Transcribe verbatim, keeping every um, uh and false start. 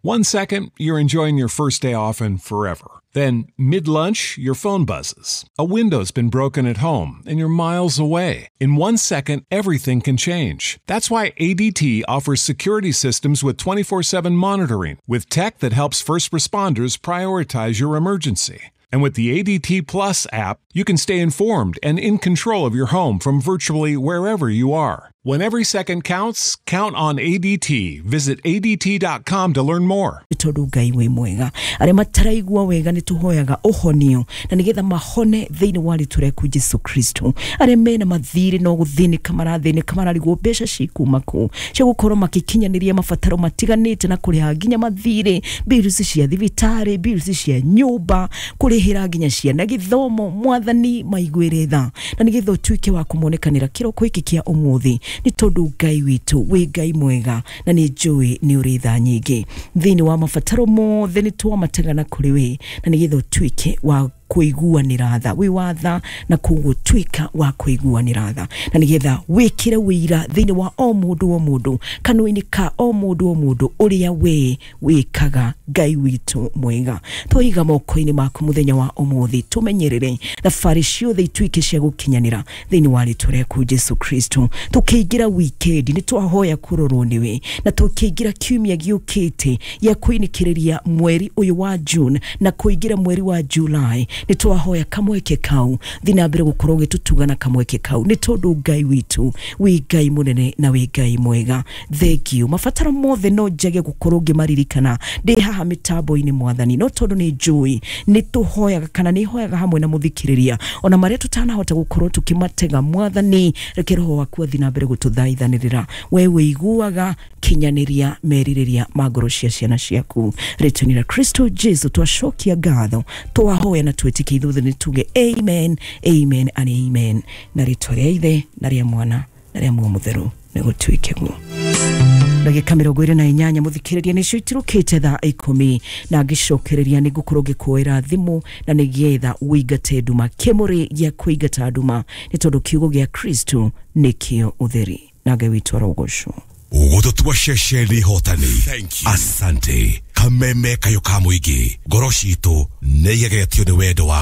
One second, you're enjoying your first day off and forever. Then, mid-lunch, your phone buzzes. A window's been broken at home, and you're miles away. In one second, everything can change. That's why A D T offers security systems with twenty-four seven monitoring, with tech that helps first responders prioritize your emergency. And with the A D T Plus app, you can stay informed and in control of your home from virtually wherever you are. When every second counts, count on A D T. Visit A D T dot com to learn more. Tondu Ngai wĩ mwega, arĩa mataraigua wega nĩ tũhoyaga ũhonio na nĩgetha mahone thĩinĩ wa rĩtwa rĩaku Jesu Kristo. Arĩa mena mathirĩ no gũthĩnĩka marathĩnĩka, mararigwo mbeca cikuma kũ cia gũkorwo makĩkinyanĩria mabataro matiganĩte na kũrĩha nginya mathirĩ, bills cia thibitarĩ, bills cia nyũmba, kũrĩhĩra nginya ciana gĩthomo. Mwathani maiguĩre tha na nĩgetha ũtuĩke wa kũmonekanĩra kĩroko gĩkĩ kĩa ũmũthĩ, nĩ tondũ Ngai witũ wĩ Ngai mwega na nĩ njũĩ nĩ ũrĩ tha nyingĩ. Thĩinĩ wa mabataro mothe nĩ twamategana kũrĩ we na nĩgetha ũtuĩke wa kũiguanĩra tha, wĩ wa tha na koguo tuĩka wa kũiguanĩra tha na nĩgetha wĩkĩre wĩira thĩinĩ wa o mũndũ o mũndũ, kanua-inĩ ka o mũndũ o mũndũ ũrĩa we wĩkaga. Ngai witũ mwega, twiga moko-inĩ maku mũthenya wa ũmũthĩ, tũmenyerere thabarĩ ciothe ituĩke cia gũkinyanĩra thĩinĩ wa rĩtwa rĩaku Jesu Kristo. Tũkĩingĩra wikendi nĩ twahoya kũrorwo nĩwe, na tũkĩingĩra kiumia gĩũkĩte gĩa kũinĩkĩrĩria mweri ũyũ wa June na kũingĩra mweri wa July, nĩ twahoya kamweke kau thiĩ na mbere gũkorwo ũgĩtũtuga na kamweke kau, nĩ tondũ Ngai witũ wĩ Ngai mũnene na wĩ Ngai mwega. Thank you. Mabataro mothe no njage gũkorwo ngĩmaririkana ndĩ haha mĩtambo-inĩ Mwathani, no tondũ nĩ njũĩ nĩ tũhoyaga kana nĩ hoyaga hamwe na mũthikĩrĩria ona marĩa tũtanahota gũkorwo tũkĩmatega. Mwathani, reke roho waku athiĩ na mbere gũtũthaithanĩrĩra, we wĩiguaga, kinyanĩria merirĩria ma ngoro cia ciana ciaku. Rĩtwa-inĩ rĩa Kristo Jesu twacokia ngatho, twahoya na twĩtĩkie ithuothe nĩ tuge amen, amen and amen. Na rĩtwa rĩa Ithe na rĩa Mwana na rĩa Muoyo Mũtheru nĩ gũtuĩke guo. Ndagĩka mĩrongo ĩrĩ na inyanya mũthikĩrĩria nĩcio itirũkĩte thaa ikũmi, na ngĩcokereria nĩ ngũkorwo ngĩkuoera thimũ na nĩgetha ũingate nduma, kĩmũrĩ gĩa kũingata nduma, nĩ tondũ kiugo gĩa Kristo nĩkĩo ũtheri. Na Ngai witũ arogocwo. Gũtũtua ceceni hotani. Asante. Kameme kayo ka mũingĩ, ngoro citũ nĩ igegetio nĩ wendo wa